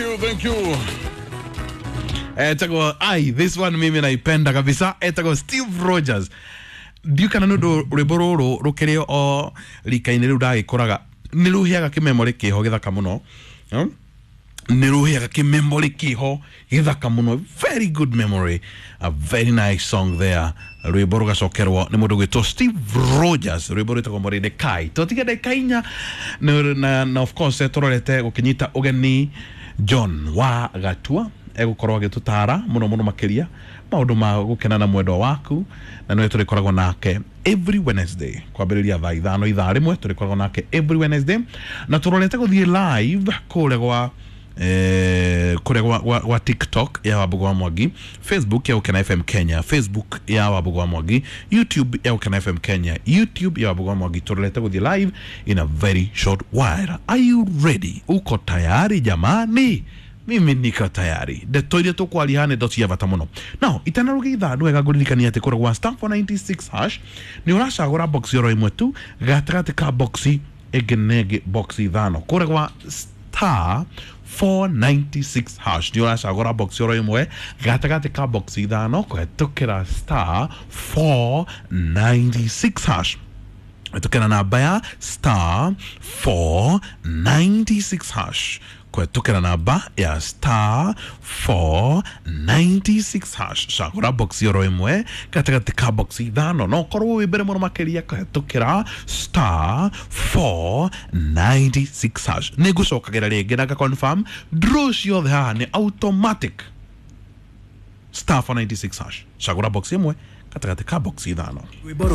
you, thank you. Etagwo ai, this one mimi naipenda kabisa. Etagwo Steve Rogers. Ndiũkana nĩ ũndũ rwĩmbo rũrũ rũkĩrĩ o rika-inĩ rĩu ndagĩkũraga, nĩ rũheaga kĩmemorĩ kĩho gĩthaka mũno. Nĩ rũheaga kĩmemorĩ kĩho gĩthaka mũno. Very good memory, a very nice song there. Rwĩmbo rũgacokerwo nĩ mũndũ gwĩtwo Steve Rogers, rwĩmbo rwĩtagwo Mordecai. Tũtige ndagĩka 4 na of course tũrorete gũkĩnyita ũgeni John wa Gatua, egũkorwo agĩtũtara mũno mũno makĩria maũndũ ma gũkena na mwendwa waku, na nĩwe tũrĩkoragwo nake every Wednesday kwambĩrĩria thaa 5, ithaa rĩmwe tũrĩkoragwo nake every Wednesday. Na tũrorete gũthiĩ live kũrĩa gwa kũrĩa gwa TikTok ya Wambugu wa Mwangi, Facebook ya Gũkena FM Kenya, Facebook ya Wambugu wa Mwangi, YouTube ya Gũkena FM Kenya, YouTube ya Wambugu wa Mwangi. Tũrorete gũthiĩ live in a very short while. Are you ready? Uko tayari jamani? Mimi niko tayari. Ndeto iria tũkwaria haha nĩ ndeto cia bata mũno. Now itanarũgia ithaa, nĩ wega ngũririkania atĩ kũrĩa gwa *496# nĩ ũracagũra box oro ĩmwe tu gatagatĩ ka box ĩngĩ na ĩngĩ, box 5. Kũrĩa gwa *496# nĩ ũracagũra box oro ĩmwe gatagatĩ ka box 5 kũhetũkĩra *496#, kũhetũkĩra namba ya *496#, kũhetũkĩra namba ya *496#. Cagũra box oro ĩmwe gatagatĩ ka box 5, no ũkorwo wĩ mbere mũno makĩria kũhetũkĩra *496#. Nĩ ngũcokagĩra rĩngĩ na nga-confirm draw ciothe haha nĩ automatic. *496#, cagũra box ĩmwe gatagatĩ ka box 5. Rwĩmbo.